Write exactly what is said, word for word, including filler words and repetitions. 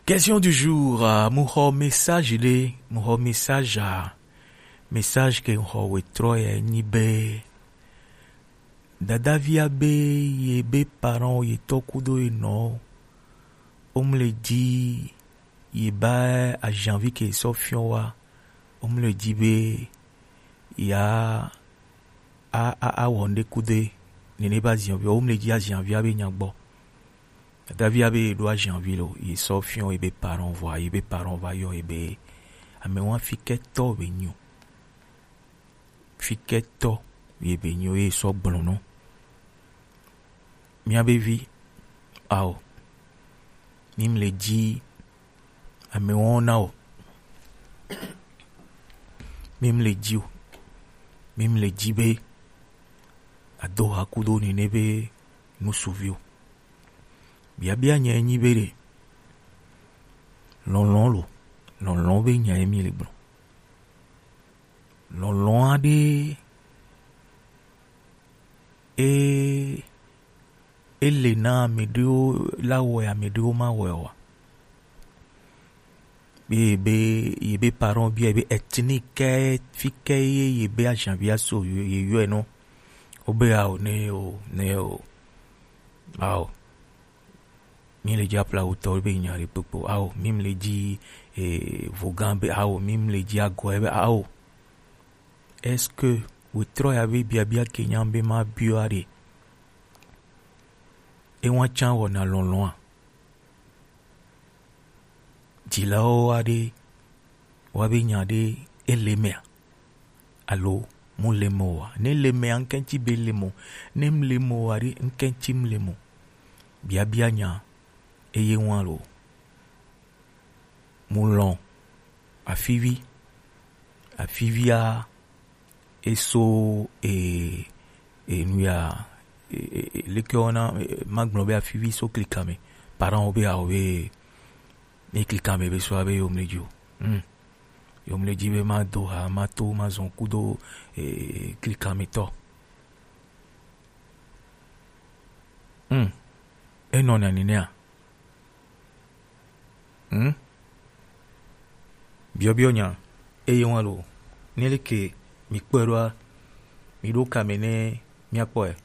Question du jour, euh, mu xɔ message ɖe, mu xɔ message, euh, message ke mu xɔ wetrɔ ya nyi be, dadavia be ye be parent ye tɔ kudo ye nɔ, wo mle dzi ye ba ajanvi ke sɔ fiɔ wa, wo mle dzi be ya a, a, a wɔ ŋɖe kudo ye, nene ba ajanvia, wo mle dzi ajanvia be nya gbɔ. Dadavia be ye ɖo ajanvi lo, ye sɔ fiɔ ye be parent vɔa, ye be parent va yɔ ye be, amewa fikɛtɔ be nyo. Fikɛtɔ ye be nyo ye sɔ gblɔ nɔ. Mia be vi, ao, mi mle dzi amewa na o. Mi mle dzi o. Mi mle dzi be ado ha kudo nene be nusuvi o. Biabia nya nyi be ɖe, lɔlɔ̃ lo, lɔlɔ̃ be nya ye mi le gblɔ. Lɔlɔ̃ aɖe e, e le na ame ɖewo la wɔ, ame ɖewo ma wɔ wa. Be, be, ye be parent bia be ethnique ke, fi ke ye, ye be ajanvia so, ye, ye yɔe nɔ. Wo be ao, ne o, ne o. Ao. Mi le dzi aplawutɔ be nya ɖe kpokpo. Ao, mi mle dzi, eh, vogan be, ao, mi mle dzi agɔe be, ao. Est-ce que wetrɔ ya be biabia ke nya be ma biɔ aɖe? E wa tsa wɔna lɔlɔ̃a? Dzilawo aɖe wa be nya ɖe ele mea? Alo mu le mo wa? Ne le mea, ŋkɛntsi be le mo. Ne mu le mo wa ɖe, ŋkɛntsi mu le mo. Biabia nya eye wa lo. Mu lɔ̃ afivi. Afivia eso, e, e, nu ya, e, e, e, leke wɔna, e, magblɔ be afivi so klika me. Parent wo be awo be, ne klika me be so abe yo mle dzi o. Hmm. Yo mle dzi be ma do ha, ma to, ma zɔn kudo, e, klika me tɔ. Hmm. Enɔ na nenea. Hmm? Biɔbiɔ nya, eye wa lo, ne leke mi kpɔe ɖoa, mi ɖo kame ne mia kpɔe.